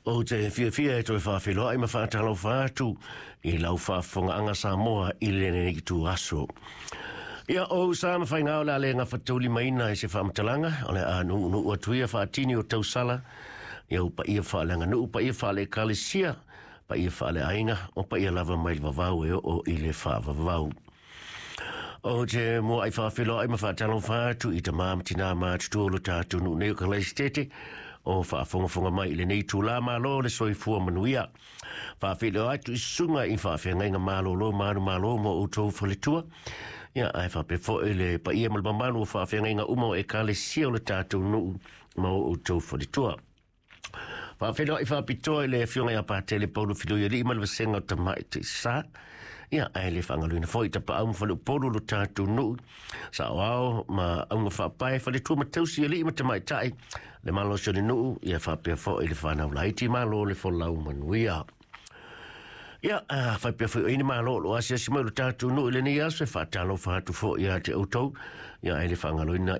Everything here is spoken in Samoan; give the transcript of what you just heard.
Ou te fiafia e toe faafeiloai ma faatalofa atu i lau faafofogaaga Samoa i lenei ituaso. Ia, o ou sa ma faiga o le a le gafataulimaina i se faamatalaga, o le a nuunuu atu ia faatini o tausala, ia ou paia faaleaganuu, paia faale-ekalesia, paia faaleaiga, o paia lava mai le vavau e oo i le faavavau. Ou te muai faafeiloai ma faatalofa atu i tamā ma tinā matutua o lo tatou nuu nei o Kalaisitete o faafogafoga mai i lenei itulā. Malo le soifua manuia. Faafeiloai atu i susuga i faafeagaiga malolo ma manumalo ma outou faletua. Ia, ae faapea foi le paia ma le mamalu o faafeagaiga uma o ekalesia o le tatou nuu ma o outou faletua. Faafeiloai faapitoa i le Afioga ia Patele Paulo Filoialii ma le Vasega o Tamaitai Sa. Ia, ae le faagaloina foi Tapaau ma Faleupolu lo tatou nuu, Saoao ma Auga Faapae, Faletua ma Tausi Alii ma Tamaitai, le malosi o le nuu, ia faapea foi le fanau laiti, malo le folau manuia. Ia, faapea foi o i ni malo o lo asiasi mai lo tatou nuu i lenei aso, e faatalofa atu foi ia te outou, ia ae le faagaloina.